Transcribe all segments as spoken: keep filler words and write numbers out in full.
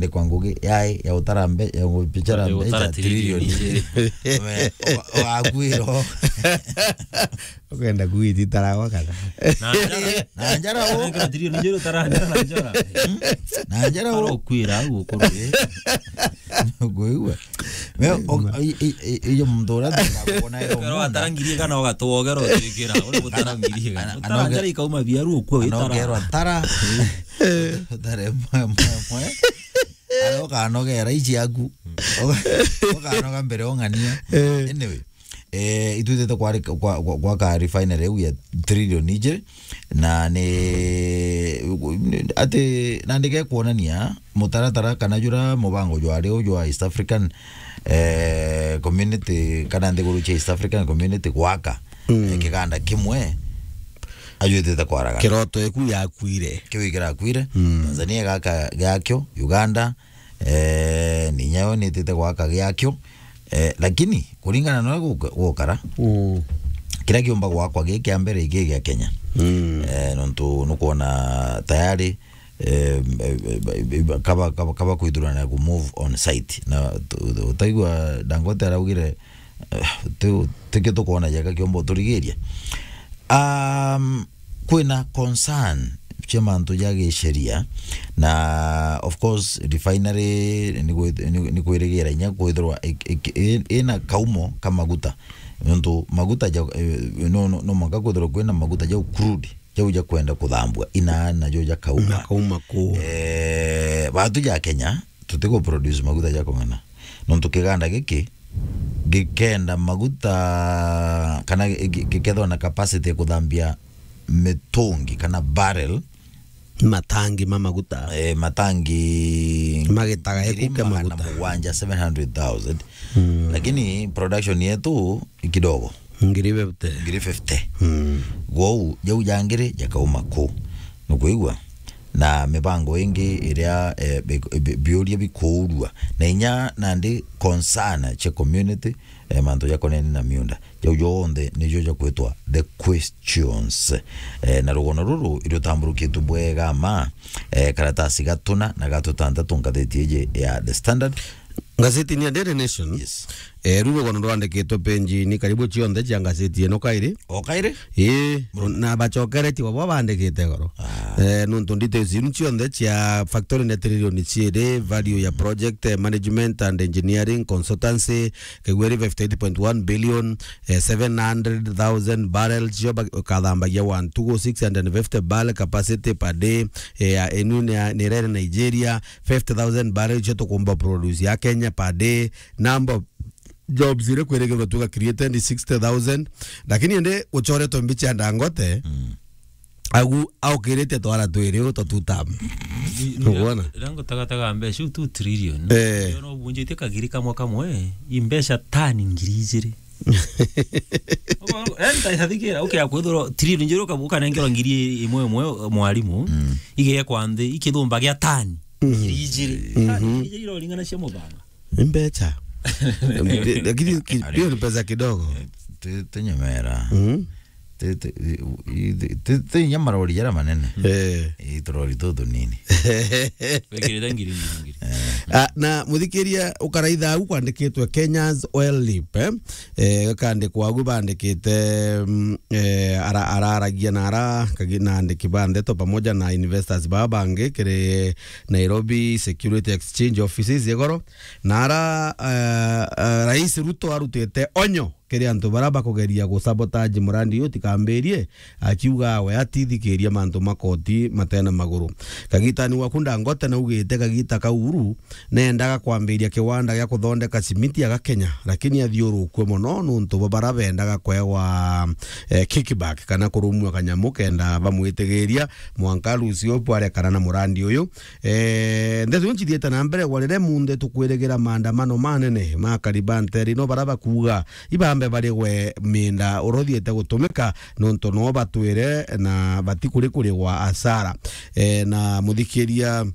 Ndikwa ngugi yai ya utara mbe-, ya gubichara Ya mbecha utara trilioni trilioni. Ijiri. We, o-, o-, akwiro. Ukwenda kuiti taragwa kana? Na njara. Na njara u. Weka trilioni ijiri utara njara na njara. Na njara u. Arokwira au ukuru. Ngwigua. We, o-, i-, i-, i-, iyo muntu uria tukuona ero. Pero mwana. Atarangirie kana ugatwogera utikira. Uri gutarangirie kana. Ana-, Utara anoge-, njara ikauma biaru ukwe witara. Anogerwa tara. Utare mwe, mwe, mwe. Ara ukanogera ici aku. Uka-, ukanoga mbere ong'ania. Eh. Anyway, eh, itwitite kwari-, kwa, kwa, gwaka refinery iu ya trilioni ijiri, na ni ati, na ndike kuonania mutaratara kana jura mubango jwari u jwa East African, eh, Community, kana nthiguru cia East African Community gwaka, mm, eh, kiganda kimwe ajwitite kwaragana. Kiroto eku yakwire. Kiu ikirakwire. Mm. Tanzania gaka giakio, Uganda, eh, ni nyayo nitite gwaka giakio. Eh, lakini kuringana na uria guka-, gukara, mm, kiria kiumba gwakwa gi kia mbere iki gia Kenya. Mm. Eh, nontu nukwona tayari, eh, eh, eh, kaba, kaba, kaba kwithurana ku move on site. Na tu-, tu-, utaigua Dangote araugire, eh, ti, tikio tukwona jeka kiumba uturigiria. Um, kwina concern cia mantu ja gisheria, na of course refinery ni gwi-, ni, ni kwirigira inya kwithirwa ik-, ik-, i-, ina kaumo ka maguta, nontu maguta ja, eh, no, no, no mwanka kwithirwa kwina maguta ja crude, jau ja kwenda kuthambua ina najo ja kauma. Na kauma ku. Eh, batu ja Kenya tutiku produce maguta ja kung'ana, nontu kiganda giki gikenda maguta kana gi-, gi-, gikethwa na capacity ya kuthambia mitungi kana barrel. Matangi ma maguta. Eh, matangi magitaga ngiri ekuke magana maguta mugwanja, seven hundred thousand. Mm. Lakini production yetu i kidogo. Ngiri fifty. Ngiri fifty. Mm. Gwou, jau ja ngiri jakauma ku. Nukwigua? Na mibango ingi iria, eh, bi-, bi-, biuria bikuurua. Na inya nandi concern cia community, eh, mantu jakonene na miunda. Jau jonthe nijo jakwitwa the questions. Eh, na rugono ruru irutamburukitwe bwega ma, eh, karatasi gatuna na gatutantatu ngatheti iji ya The Standard. Ngatheti ni ya Daily Nation. Yes. Eh, ru rugono rwandikitwe penji ni karibu cionthe cia ngatheti ino kairi. O kairi? Ii, na bacokeretie babo bandikite goro. Ah. Eh, nontu details iu cionthe cia factory na trilioni ciiri, value ya project, eh, management and engineering, consultancy, kigweri fifty eight point one billion, eh, seven hundred thousand barrels, cio ba-, ukathambagia wa ntugu, six hundred fifty barrel capacity per day, eh, ya inu ni ya, ni rere Nigeria, fifty thousand barrels cio tukumba produce ya Kenya per day, number jobs iria kwirigirwa tuga created ni sixty thousand, lakini indi gucoretwe mbicha ya Dangote, mm, agu aukirite twara twiri u twa two term. Ni, ni Ukwona? Rango tagataga mbeca iu two trillion. Eh. Yo no bunjite kagiri kamwe kamwe, i mbeca tani ngiri ijiri. Ogo, eh, ntaithathikira, okay, akwithirwa trillion njiru uka-, ukanengerwa ngiri imwe imwe mwarimu, mm, igekwa nthi, ikithumba gia tani, mm, ngiri ijiri. Mhm. Tani ngiri ijiri iroringana cia mubanga. Ni mbecha. Lakini ki-, hiyo ni pesa kidogo. Eh, ti, ti nyemera. Mm. Ti, ti, i, i, ti, ti, ti inya marori jaria manene. Eh. I turori tu tunini. Wikirite ngiri, ngiri, ngiri. Eh. Ah, na muthikiria ukaraitha au kwandikitwe Kenya's Oil Leap, eh? Eh, gakandikwa agu bandikite, mm, eh, ara-, araragia na ara, kagi-, na andiki ba ndeto pamoja na investors baba bangi kiri Nairobi Security Exchange Offices igoro. Na ara, eh, eh, Rais Ruto arutite onyo kiri antu baria bakugeria gusabotage murandi uyu utikambirie, akiuga we atithikiria mantu ma koti matena maguru. Kagitani waku Dangote naugite kagita ka Uhuru neendaga kwambiria kiwanda gia kuthondeka cimiti aga Kenya, lakini athiurukue mono nuntu bwa baria bendaga kwewa, eh, kickback kana kurumua kanyamu kenda bamwitigiria mwanka Rucio bwarekana na murandi uyu. Eh, ndeto iu ncithiite na mbere gwa riria munthe tukwirigira maandamano manene ma akari ba nteere ino baria bakuuga ibambe barigwe miinda uria uthiite gutumika, nontu no batwire na batikuri kurigwa asara. Eh, na muthikiria,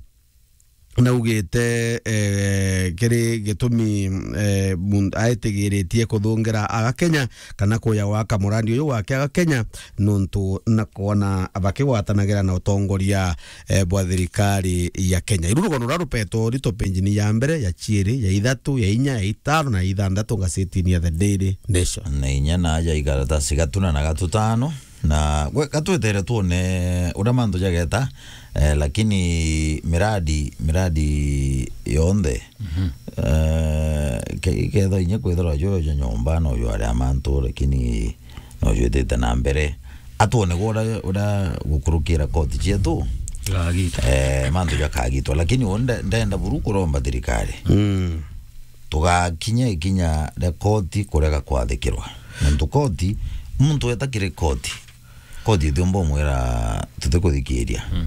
naugite, eh, kiri gitumi, eh, mun-, aitigiritie kuthungira Agakenya kana kuja gwaka murandi uyu wake Agakenya, nontu na kwona bakigwatanagira na utongoria, eh, bwa thirikari ya Kenya. Iru rugono ruria rupetwo rito penjini ya mbere, ya ciiri, ya ithatu, ya inya, ya itano na ya ithanthatu ngasetini ya The Daily Nation. Na inya na aja ikaratasi gatuna na gatutano. Na gwe, ka twetere twone uria mantu jageta, eh, lakini miradi, miradi yonthe, eh, ke-, ketha inya kwithirwa jo, jo nyomba no jo aria mantu, lakini no jo itite na mbere. Atwone gwe uria, uria gukurukira koti cietu, Gagita. Eh, mantu jakagitwa, lakini uu nde-, ndenda buru kuromba thirikari. Mm. Tugakinya ikinya ria koti kurega kwathikirwa. Nontu koti, muntu eta kiri koti, koti itiumba umwira tutikuthikiria. Mm.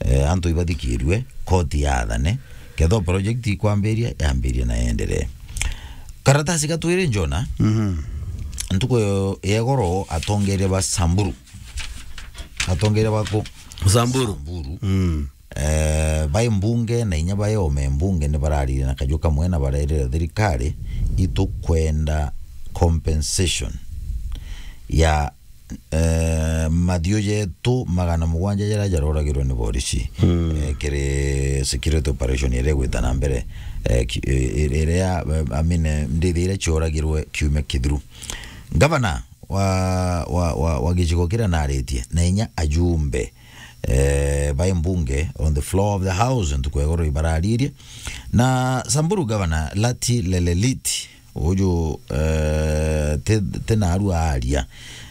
Eh, antu ibathikirue, koti yathane, ketho project ikwambiria, yambirie na yenderee. Karatasi ga twiri njona, Mhm. ntuku ya igoro atongeria ba Samburu. Atongeria baku? Samburu. Samburu. Mm. Eh, bai mbunge na inya bai ome mbunge ni bararirie na kaju kamwe na barerire thirikari, itukwenda compensation ya, eh, mathiu jetu magana mugwanja jaria jaroragirwe ni borisi, Mm. eh, kiri security operation iria igwita na mbere, eh, ki-, eh, iria, eh, I mean, eh, ndithi iria cioragirwe kiumia kithiru. Gavana wa, wa, wa, wa gicigo kiria naritie, na inya ajumbe, eh, bai mbunge on the floor of the house, ntuku ya igoro ibararirie. Na Samburu Governor Lati Lelelit, uju, eh, ti, ti naru aria,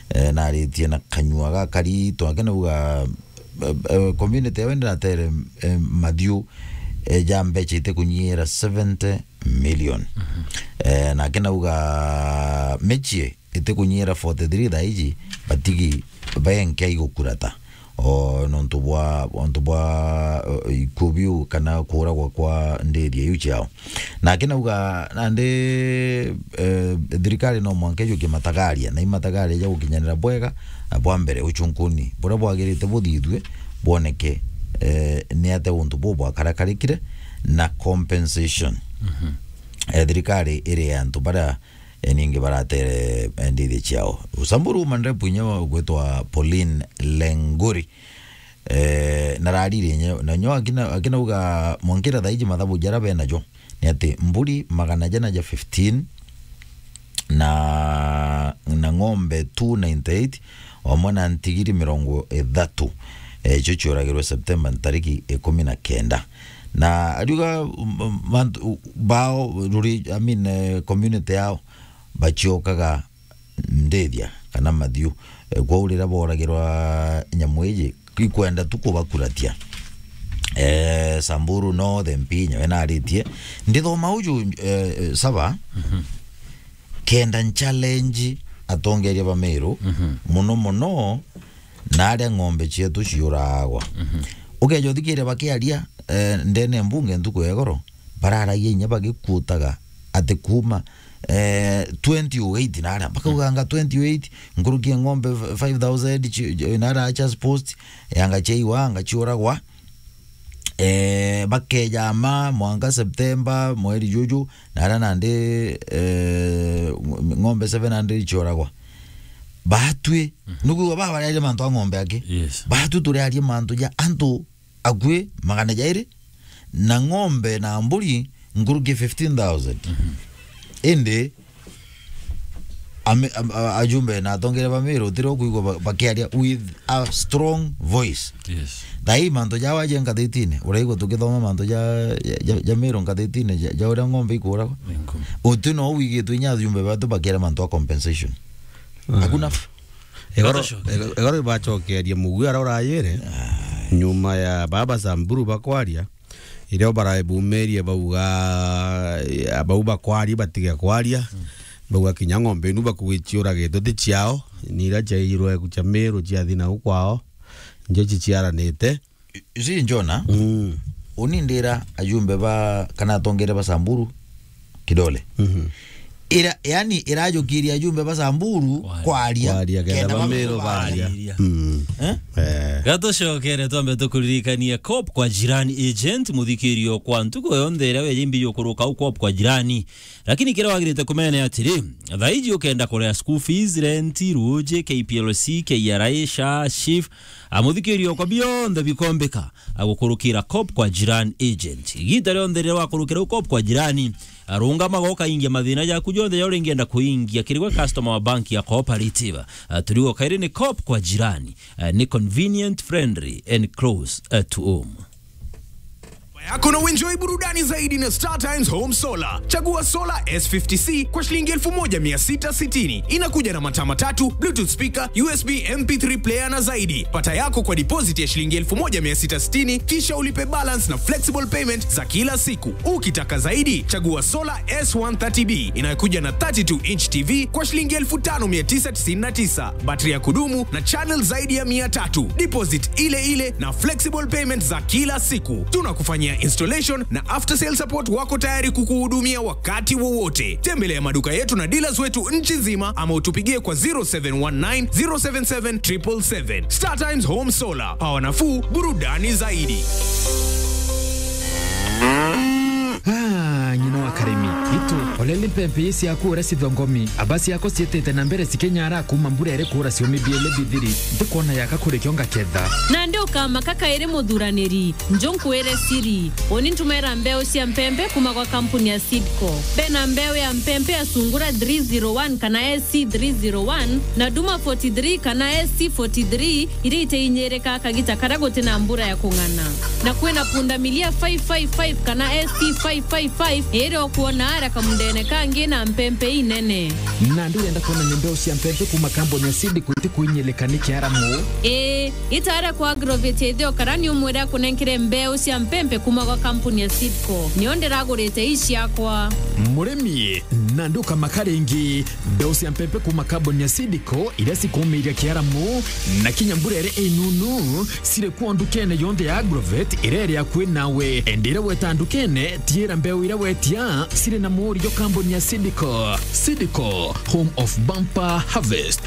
eh, naritie na kanyua gakari, twake nauga, eh, eh, community yawe ndiratere, eh, mathiu, eh, ja mbeca itikunyiira seventy million. Mhm. Eh, nake nauga michie itikunyiira forty-three thaa iji, batigi baenke igukurata. O nontu bwa, nontu bwa, eh, ikuo biu kana kuuragwa kwa ndiria iu ciao. Nake nauga nandi, eh, thirikari no mwanka ijukie matagaria, na imatagaria ja gukinyanira bwega, na bwa mbere uchunkuni buria bwagirite buthithue, bwoneke, eh, ni atia untu buu bwakarakarikire, na compensation. Mhm. Eh, thirikari iri ya antu baria, eh, ningi baratere, eh, ndithi ciao. Samburu uma ndepu inya ugwitwa Pauline Lenguri. Eh, nararire inya, na nyo akina, akinauga mwankira thaa iji mathabu jaria benajo ni ati mburi magana jana ja fifteen na, na ng'ombe two ninety-eight, amwe na ntigiri mirongo ithatu, eh, icio cioragirwe Septemba ntariki ikumi na kenda. Na ariuga, um, um, mantu, u-, bao, ruri-, I mean, eh, community yao, baciokaga ndithia kana mathiu. Eh, kwou riria boragirwa nyamu iji, ikwenda tu kubakuratia. Eh, Samburu North M P nyawe naritie. Ndithoma uju, eh, eh, Saba, Mhm. kenda nchallenge atongeria ba Meru, Mhm. muno muno na aria ng'ombe cietu ciuragwa. Mhm. Ukeja uthikiria bakiaria, eh, ndene ya mbunge ntuku ya igoro, bararagia inya bagikuutaga ati kuuma, eh, twenty oh eight na aria, bakauganga twenty oh eight, nkuruki ya ng'ombe f-, five thousand ci-, ci-, na aria Achas Post, yanga ciaiwa, anga ciuragwa. Eh, bakeja ma mwanka September, mweri juju, na aria nandi, eh, ng'ombe seven hundred ciuragwa. Batwi, Mhm. nukwigua baba bariaria mantu a ng'ombe aki. Yes. Batwi turiaria mantu ja antu akui magana jairi na ng'ombe na mburi nkuruki fifteen thousand. Mhm. Indi ame-, am-, a-, ajumbe na atongeria ba Meru utiri ukwigua ba-, bakiaria with a strong voice. Yes. Thaa ii mantu jao aje ngathitine, uraigua tukithoma mantu ja, ja, ja, ja Meru ngathitine, ja, ja uria ng'ombe ikuragwa. Ni nku. Uti no wigitwe inya ajumbe batu bakiaria mantu a compensation. Ah. Hakuna. Egoro, Batashokeria. Egoro ibacokeria muguo aria urayire. Ai. Nyuma ya baba Samburu bakwaria, irio baraebumirie bauga, eh, bau bakwaria batige kwaria. Mm. Bauga kinya ng'ombe inu bakugi ciuragitwe ti ciao, ni iria ciairwe cia Meru ciathi nau kwao, njo ciciaranite. Isi Njona, Mm. uni ndira ajumbe ba, kana atongeria ba Samburu kidole. Mhm. ira, yani, irajukiria ajumbe ba Samburu kwaria. Kwaria. Kwaria, kenda kenda ba Meru baria. Baria. Mm. Eh? Eh. Gatucokere twambe tukuririkanie COP kwa Jirani agent, muthikirio kwa ntuku yonthe iria weja imbi jukuruka au COP kwa Jirani. Lakini kiria wagirite kumenya ni atiri, thaiji ukenda kuria school fees, rent, ruji, K P L C, K R A, SHA, SHIF, a, muthikirio kwa bionthe bikombika, a, gukurukira COP kwa Jirani agent. Igita rionthe riria wakurukira u COP kwa Jirani, a, rungamaga ukaingia mathina jaku jonthe ja uringienda kuingia kiri gwe customer wa bank ya Cooperative. A, turigo kairi ni COP kwa Jirani, a, ni convenient, friendly and close, a, to home. Yako na uenjoy burudani zaidi na Star Times Home Solar. Chagua solar S fifty C kwa shilingi elfu moja mia sita sitini. Inakuja na mataa matatu, Bluetooth speaker, U S B M P three player na zaidi. Pata yako kwa deposit ya shilingi elfu moja mia sita sitini, kisha ulipe balance na flexible payment za kila siku. Ukitaka zaidi, chagua solar S one thirty B inayokuja na thirty-two inch T V kwa shilingi elfu tano mia tisa tisini na tisa. Battery ya kudumu na channel zaidi ya mia tatu. Deposit ile ile na flexible payment za kila siku. Tunakufanyia installation na after sale support, wako tayari kukuhudumia wakati wowote. Tembelea maduka yetu na dealers wetu nchi nzima ama utupigie kwa zero seven one nine, zero seven seven, triple seven. Star Times Home Solar. Power nafuu, burudani zaidi. Ah, ng'ina wa Karimi. Itu, olele mpempe ii ciaku uria cithongomi. Aba ciako ciitite na mbere cikenyara kuuma mbura iri kuura ciumi biele bithiri. Ntikwona yaka kuri kio ngaketha. Nandi ukamaka kairi muthuraniri. Njo nkwire siri. Uni ntumera mbeu cia mpempe kuuma gwa kampuni ya Seedco. Bena mbeu ya mpempe ya Sungura three zero one kana S C three zero one, na Duma forty-three kana S C forty-three, iria iteinyirika kagita karia guti na mbura ya kung'ana. Na kwina pundamilia five five five kana S C five five five, iria ukwona ara kamundene kangi na mpempe inene. Nandi urenda kwona ni mbeu cia mpempe kuuma kambuni ya Seedco itikuinyilika ni kiaramu? Ii, itara kwa Agrovet ithio kara ni umwire akunenkere mbeu cia mpempe kuuma gwa kampuni ya Seedco. Nio ndiragurite ii ciakwa. Murimi, nandi ukamaka ringi. Mbeu cia mpempe kuuma kambuni ya Seedco iria cikuumiiria kiaramu na kinya mbura iria inunu, ciri kuo ndukene yonthe ya Agrovet iria iri akui nawe. Indi iria weta ndukene, tiira mbeu iria wetia ciri na muurio kambuni ya Seedco. Seedco, home of bumper harvest.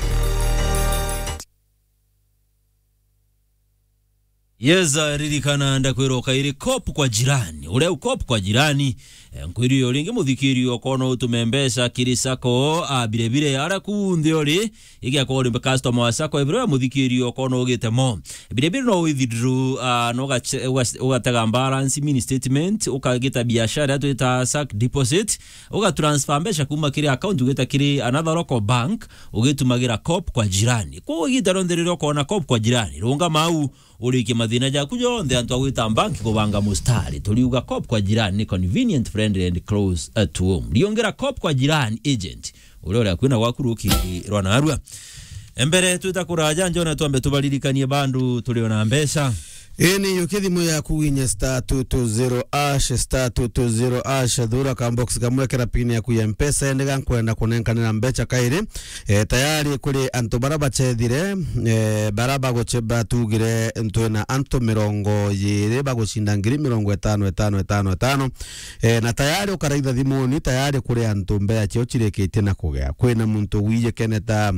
Yes, uh, ririkana ndakwira ukairi COP kwa Jirani. Uria u COP kwa Jirani, eh, nkwiri yo ringi muthikiri okona utume mbeca kiri sacco, a, bire bire, ara ku nthi uri, igia kwa uri customer wa sacco, ebiro ya muthikiri okona ugite mo. Bire bire no withdraw, a, no ugache-, uga-, ugatega balance, mini statement, ukagita biashara twita sack deposit, ugatransfer mbeca kuma kiri account ugita kiri another local bank, ugitumagira COP kwa Jirani. Kwa igita rionthe riria ukona COP kwa Jirani, rungama au, urikie mathina jaku jonthe antu a gwita bank kubanga mustari. Turiuga COP kwa Jirani ni convenient, friendly and close, uh, to home. Riongera COP kwa Jirani agent, uria uri akui na gwaku ruki rwa narua. Mbere twita kuraja, njona twambe tubaririkanie bandu turi ona mbeca. Ii ni yuki thimu yaku winye star two two zero hash, star two two zero hash, thura ka box kamwe, kira pin yaku ya Mpesa, ende ga nkwenda kunenkanira mbeca kairi. E, tayari kuri antu bara bachethire, e, bara baguche-, batugire ntwina antu mirongo iiri bagucinda ngiri mirongo itano, itano, itano, itano. E, na tayari ukaraitha thimuni, tayari kuri antu mbeca ciao cirikitie na kugea. Kwina muntu wiye keneta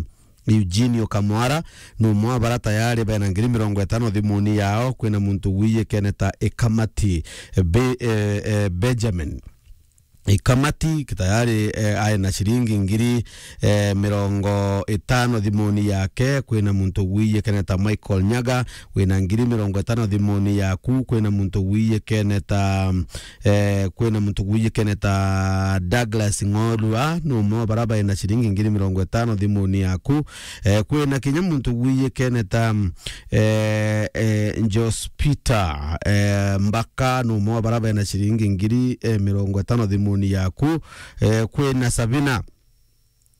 Eugenio Kamwara, ni umwe wa bara tayari bena ngiri mirongo itano thimuni yao. Kwina muntu wiye keneta Ikamati, Be-, e, e, Benjamin. Ikamati tayari, e, ari na ciringi ngiri, e, mirongo itano thimuni yake. Kwina muntu wiye keneta Michael Nyaga, wina ngiri mirongo itano thimuni yaku. Kwina muntu wiye keneta, e, kwina muntu wiye keneta Douglas Ng'orua, ni umwe wa bara bena ciringi ngiri mirongo itano thimuni yaku. E, kwina kinya muntu wiye keneta, e, e, Jos Peter, e, Mbaka, ni umwe wa bara bena ciringi ngiri, e, mirongo itano thimuni yaku. E, kwina Sabina,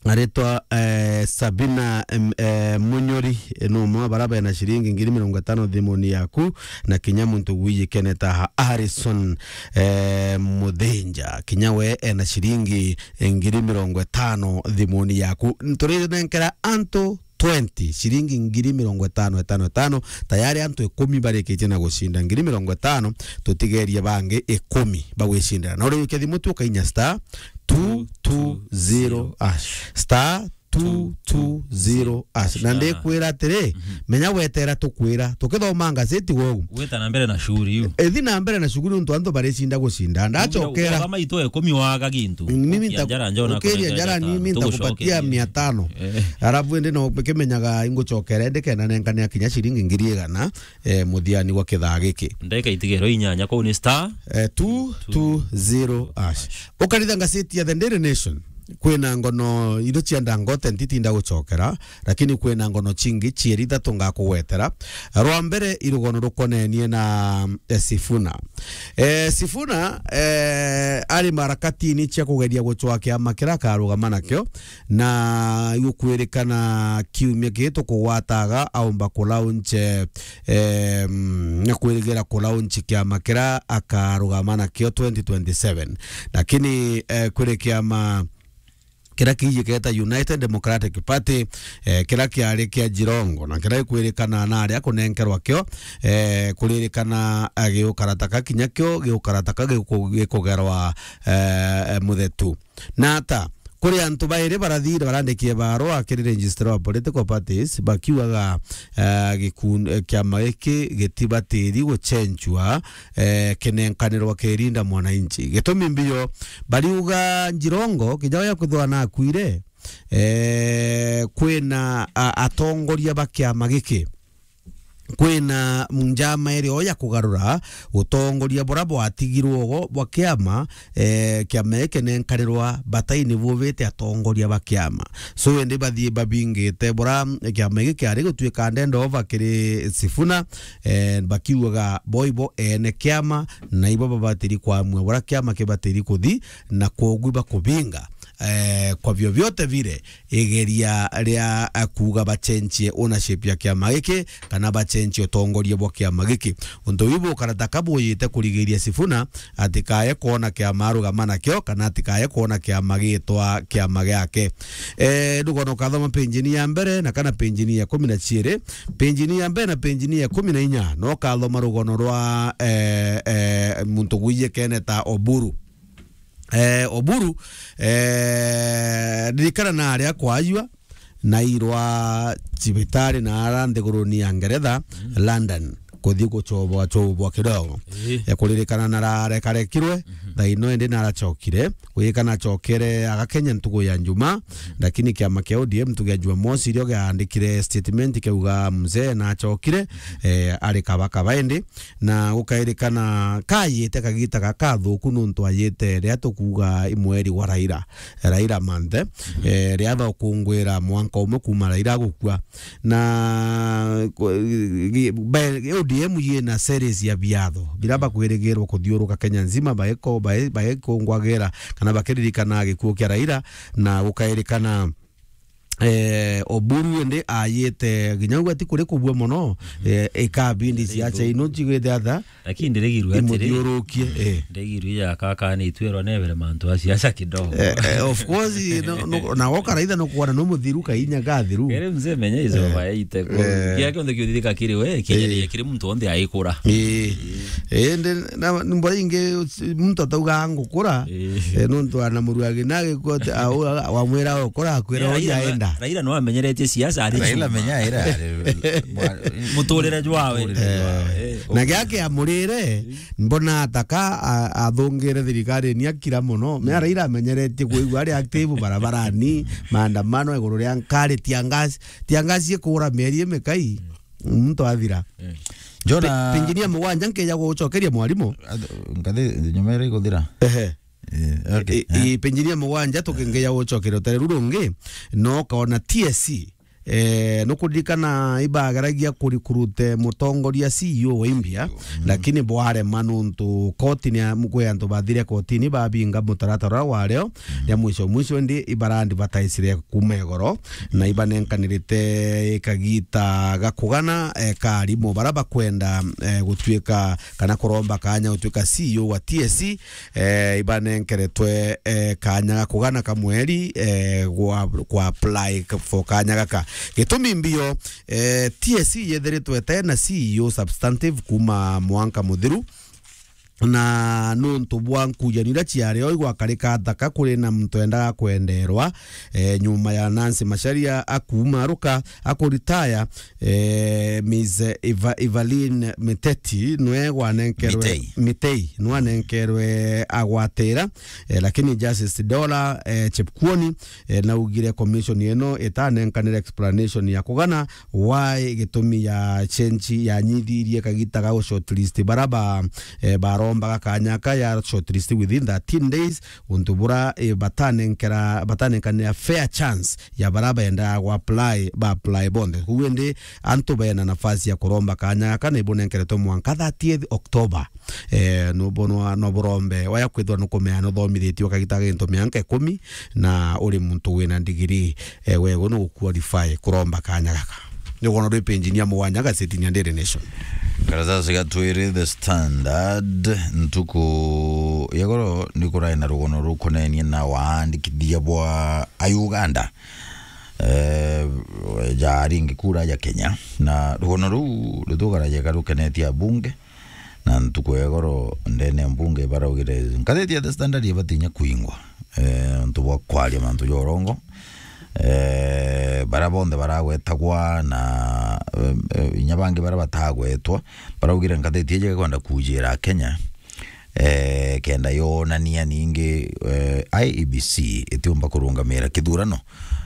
aritwa, e, Sabina, em, e, Munyori, e, ni umwe wa bara bena ciringi ngiri mirongo itano thimuni yaku, na kinya muntu wiye keneta Harrison, e, Muthinja, kinya we ena ciringi ngiri mirongo itano thimuni yaku. Nturinenkera antu twenty, ciringi ngiri mirongo itano, itano, itano. Tayari antu ikumi barikitie na gucinda ngiri mirongo itano, tutigerie bangi ikumi bagwicindira. Na uri wikia thimu tu ukainya star two two zero hash. Star two two zero hash. Na ndikwira atiri, menya wetera tukwira, tukithoma ngazeti gwe ugu. Gwita na mbere na shughuli iu. Ithi na mbere na shughuli nontu antu baricinda gucinda. Ndacokera. Kama itwe ikumi waga gintu. Mimi nita-, njara njona ukiria kona njara njara ni mimi nitakupatia mia tano. Eh. Alafu ende no kimenyaga ingucokera ende kenda nenkane kinya ciringi ngiri igana, eh, muthiani wa kithaa giki. Ndeka itigero inyanya kuu ni star. Eh, two two zero hash. Ukaritha ngazeti ya The Daily Nation. Kwina ngono iria cienda ngote ntitinda gucokera, lakini kwina ngono cingi cieri ithatu ngakugwetera. Rwa mbere, i rugono rukonenie na, eh, Sifuna. Eh, Sifuna, eh, ari marakatini cia kugeria gucwa kiama kiria akarugama nakio, na igukwirikana kiumia giki tukugwataga aumba kulaunch, eh, em, na kwirigira kulaunch kiama kiria akarugama nakio twenty twenty-seven. Lakini, eh, kwiri kiama kiria kiijiketa United Democratic Party, eh, kiria kiari kia Jirongo, na kiria gikwirikana na aria kunenkerwa kio, eh, kuririkana, eh, giukarataka kinya kio giukarataka giku-, gikugerwa, eh, eh, muthetu. Na ata, kuri antu bairi barathire barandikie barua kiri registrar wa political parties, bakiugaga, eh, gikun-, eh, kiama giki gitibatiri gucenjua, eh, kinenkanirwa kirinda mwananchi. Gitumi mbio, bariuga Jirongo, kinya uria kwithwa nakuire, eh, kwina, a-, atongoria ba kiama giki. Kwina njama iri o ya kugarura utongoria buria bwatigirwo ugo bwa kiama, eh, kiama giki nenkanirwa bataini bubite atongoria ba kiama. So, indi bathii babingite buria kiama giki kiari gutuika ndenda ova kiri Sifuna, eh, bakiugaga bo ibo ene kiama, na ibo babatiri kwamua buria kiama kibatiri kuthi, na kwogu ibakubinga, eh, kwa vyovyote vile, igeria ria, eh, kuuga bacenjie ownership ya kiama giki, kana bacenjie utongoria bwa kiama giki. Untu buu bukarata ka buyite kurigiria Sifuna atikaye kwona kiama arugama nakio, kana atikaye kwona kiama gitwa kiama giake. Eh, ndugona ukathoma penjini ya mbere na kana penjini ya kumi na ciiri, penjini ya mbere na penjini ya kumi na inya, no ukathoma rugono rwa, eh, eh, muntu gwiji kene ta Oburu. Eh, Oburu, eh, ririkana na aria kwaajua, na irwa cibitari na ara nthiguruni ya Ngeretha, London, kuthi gucobwa cobwa kidogo. Ii. Ya kuririkana na rarekarekirwe, thaino indi naracokire, gwikana acokere agakenya ntugu ya Njuma, lakini kiama kia O D M ntugu ya Jumamosi irio giandikire statement kiauga mzee nacokire, eh, ari kabakaba indi, na gukairikana kayite kagita gakathuku nuntu ayite riria tukuuga i mweri wa Raila, Raila month, eh, riria bakungwira mwanka umwe kuuma Raila agukua. Na ku-, gi-, ba-, O D M yina series ya biatho biria bakwirigirwa kuthiuruka Kenya nzima baiko-, bai-, baikungwagira kana bakiririkana gikuu kia Raila, na gukairikana eh, Oburu indi ayite nginya ugwe ti kuri kubua mono, eh, ikabindi ciaca ino cigwite atha. Lakini ndirigirwe atiri, imuthiurukie, eh. Ndirigirwe ya kaka ni itwerwa nebere mantu a siasa kidogo. Eh, eh, of course, no, no, na woka raitha no kuona no muthiru kainya gathiru. Kere mzee menya izo bayaite ko. Eh. Kia kionthe kiuthirika kiri we, kinya kiri muntu onthe aikura. Eh. Eh, ndi, na, mbora ingi muntu atauga ngukura, eh, nontu ana muruagi na agikua ati, a, u, a, wamwira ukura, akwira Raila uria no, aenda. Raila no amenyeretie siasa ari Raila chuma. Menya era, ari, mwa-, muturire jwawe. Muturire jwawe. Eh, na giake amurire, mbona ataka, a, athungire thirikari ni akira muno. Mea Raila amenyeretie kuigua ari active barabarani, maandamano iguru ria nkari, tiangasi, tiangasi ikura mieri imikai. Muntu athira. Eh. Njona pe-, penjini ya mugwanja nkeja gucokeria mwarimu. Ngathi nyuma ira iguthira. Ehe. Eh, okay. I, i, penjini ya mugwanja tukingeja gucokeria utari ru rungi, no kaona T S C. Eh, nukuririkana ibageragia kurikurute mutongoria C E O wa India, lakini bwarema nuntu koti ni a-, kwi antu bathire kotini babinga mutaratara wario, ya mwisho mwisho ndi ibarandi bataisire kuma igoro, na ibanenkanirite kagita ga kugana, eh, ka arimu bara bakwenda, eh, gutuika kana kuromba kanya gutuika C E O wa T S C, eh, ibanenkeretwe, eh, kanya ga kugana ka mweri, eh, gwa, gwa apply for kanya gaka. Gitumi mbio, eh, T S C yethiritwe ite na C E O substantive kuuma mwanka muthiru, na nuntu bwa nkujanio iria ciari o igwakarika nthaka kuri na muntu endaga kwenderwa, eh, nyuma ya Nancy Macharia akuuma aruka, akuritaya, eh, Miss Eva-, Evelyn Miteti nwe gwanenkerwe Mitei. Mitei, nwe anenkerwe agwatira, eh, lakini Justice Dola, eh, Chepkuoni, eh, naugire commission ino itanenkanire explanation ya kugana why gitumi ya change yanyithirie kagita ga shortlist bara ba, eh, barombaga kanya ka ya shortlist within thirteen days, untu bura, eh, batanenkera, batanenkanira fair chance ya bara benda gwa apply, ba apply bonthe. Kuu indi antu bena nafasi ya kuromba kanya gaka ni bunenkeretwe mwanka thirtieth October. Eh, nubonwa no burombe waya kwithwa nukumea nuthomithitie ukagita gintu mianka ikumi na uri muntu wina ndigiri, eh, wego nuguqualify kuromba kanya gaka. Ni rugono rwi page-ini ya mugwanja gazetini ya Daily Nation. Karatasi ga twiri The Standard, ntuku ya goro ni kurai na rugono rukonenie na waandikithia bwa a Uganda, eh, ja aringi kura ja Kenya. Na rugono ruu ruthugaragia karukenetie abunge, na ntuku ya goro ndene ya mbunge baraugire ngatheti ya The Standard ibatinya kuingwa, eh, untu bwa kwaria mantu ja urongo. Eh, bara bonthe baragwetagwa na, eh, eh, inya bangi bara batagwetwa, baraugire ngatheti iji ikwenda kujira Kenya, eh, kenda yonania ningi, eh, I E B C itiumba kurungamira kithurano,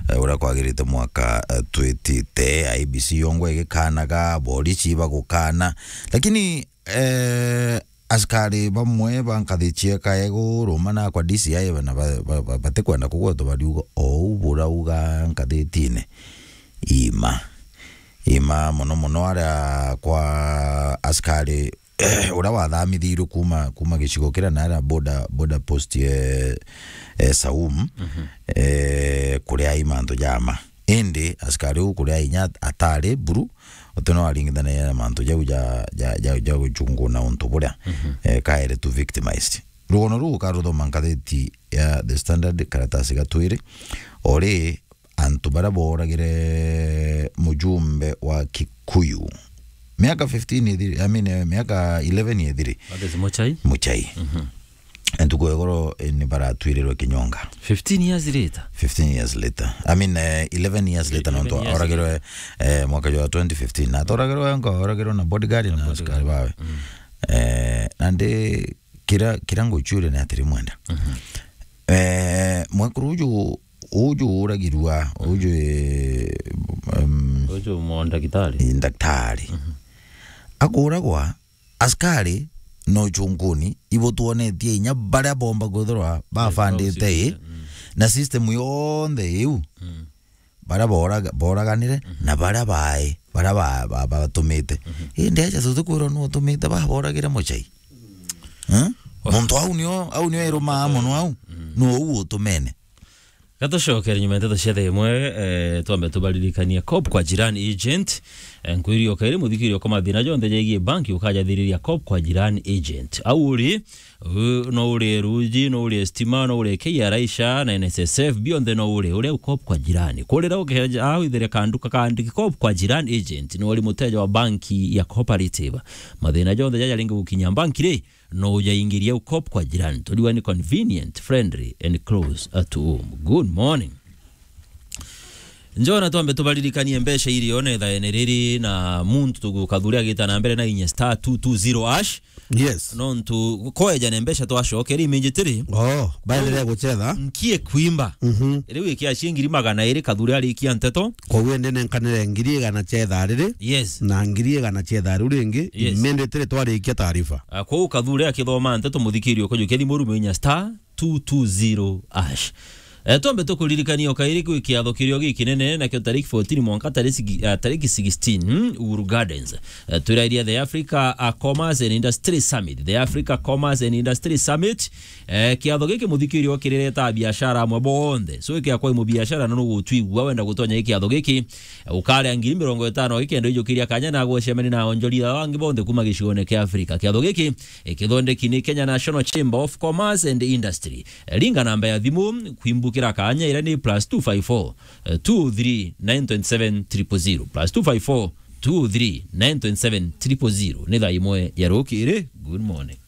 eh, uria kwagirite mwaka, eh, twitite. I E B C yongwa igikanaga, borisi bagukana, lakini, eh, askari bamwe ba nkathi cieka iguru mana kwa D C I bana ba-, ba-, ba-, batikwenda kugwetwa bariuga ou burauga nkathitine. Ima. Ima mono mono aria kwa askari uria wathamithirwe kuma, kuma gicigo kiria na aria border, border post, eh, eh, Saum, eh, kuria i mantu jama. Indi askari uu kuria inya atari buru, uti no aringithanagia na mantu jau ja, ja, ja, ja gucunguna untu buria, eh, kaere tu victimized. Rugono ruu ukaruthoma ngatheti ya The Standard, karatasi ga twiri, ori antu baria booragire mujumbe wa Kikuyu. Miaka fifteen ithiri, I mean, eh, miaka eleven ithiri. That is Muchai. Muchai. Mhm. Ntuku ya igoro, eh, ni baratwirirwe kinyonga. Fifteen years later? Fifteen years later. I mean, eh, eleven years later, eleven nontu years oragirwe, eh, mwaka jwa twenty fifteen. Na atoragirwe, ngo oragirwe na bodyguard na askari bawe. Mm. Eh, na ndi kira, kira nguchuria ni atiri mwenda. Mhm. Eh, mwekuru uju, uju uragirwa, uju, eh, um, uju mo ndagitari. Ndagitari. Mhm. Akuragwa, askari no chunguni, ibutwonetie inya baria bomba kwithirwa bafandite i, mm, na system yonthe iu. Mm. Baria boraga-, boraganire, mhm, na baria bae, baria ba-, ba-, batumite. Mhm. Indi aja tutikwirwa nu utumite, ba boragire Muchai. Eh? Oh. Muntu au nio, au nio irumaa mono au. Mm. Nu uu utumene. Gatucokere nyuma ya nteto cia thaa imwe, eh, twambe tubaririkanie Cop kwa Jirani Agent. Eh, nkwiri o kairi muthikiri okwa mathina jonthe jegie banki ukajathiriria Cop kwa Jirani Agent. Au uri, u-, no urie ruji, no urie stima, no urie K R A, SHA na N S S F, bionthe no urie, uria u Cop kwa Jirani. Kurira ukeja au ithere kanduka kaandiki Cop kwa Jirani Agent, ni uri muteja wa banki ya Cooperative. Mathina jonthe jaja ringi gukinya banki ri, no ujaingiria u Cop kwa Jirani. Turiwa ni convenient, friendly and close at home. Good morning. Njona twambe tubaririkanie mbeca irio na ithaene riri na muntu tugukathuria agita na mbere na inya star two two zero hash. Yes. Nontu kweja na mbeca twacokera iminjitiri. Oh, baendelea guchetha. Nkie kwimba. Mhm. Riu ikia cia ngiri magana iri kathuri arikia nteto. Koguo indi nenkanire ngiri igana cia ithaa riri. Yes. Na ngiri igana cia ithaa riu ringi. Yes. Iminti tiri twarikia taarifa. Ah, kwou kathuri akithoma nteto muthikiri ukojukia thimu rume inya star two two zero hash. Eh, twambe tukuririkania o kairi kwi kiatho kirio gikinene, nakio tariki fourteen mwanka tariki sigi-, ah, tariki sixteen, hmm, Uhuru Gardens. Eh, twirairia the Africa, ah, Commerce and Industry Summit. The Africa Commerce and Industry Summit. Eh, kiatho giki muthikiri o kirireta biashara amwe bonthe. So, ikia kwa mubiashara no nugutwigua wenda gutonya kiatho giki, eh, ukaria ngiri mirongo itano gikenda ijukiria kanya na gwecemania na onjorithia bangi bonthe kuma gicigone kia Africa. Kiatho giki, eh, kithondeki ni Kenya National Chamber of Commerce and Industry. Eh, ringa namba ya thimu, kwimbu- Gira kanya, ira ni plus two five four, eh, two three nine twenty seven triple zero, plus two five four, two three nine twenty seven triple zero. Ni thaa imwe ya rukiri. Good morning.